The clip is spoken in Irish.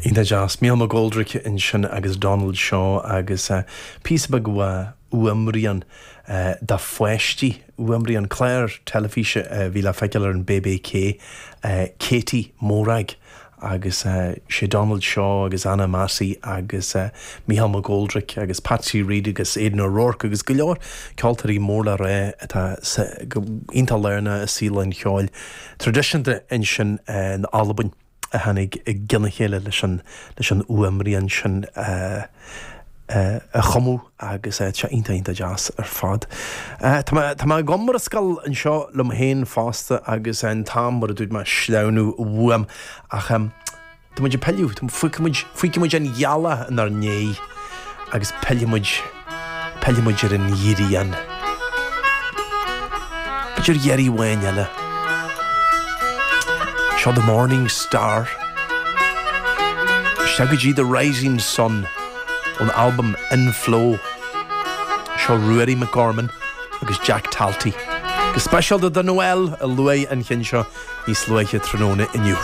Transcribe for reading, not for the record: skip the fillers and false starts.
Iontach deas. Mícheál McGoldrick ansin agus Donald Shaw agus píosa beag uaimrian do pháistí, uaimrian clár teilifíse a bhí le feiceáil ar an BBK, Katie Morag agus sé Donald Shaw agus Anna Massey agus Mícheál McGoldrick agus Patsy Reid agus Aidan O'Rourke agus go leor ceoltóirí mór le rá atá iontach lárnach i saol an cheoil traidisiúnta ansin in Albain. a tháinig i gcionn a chéile leis an leis an fhuaimrian sin a a chumadh agus tá sé iontach iontach deas ar fad. Tá mé tá mé ag iomrascáil anseo liom féin fosta agus an t-am mar a dúirt mé ag sleamhnú uaim ach tá muid ag pilleadh, fágfaidh muid fágfaidh muid an ghealach inár ndiaidh agus pillfidh muid Pillfidh muid ar an ghrian. B'fhéidir iarraidh amháin eile. Seo The Morning Star. Isteach go dtí The Rising Sun ón albam In Flow. Seo Ruairí McGorman agus Jack Talty. Go speisialta do Noel a luaigh an cheann seo níos luaithe tráthnóna inniu.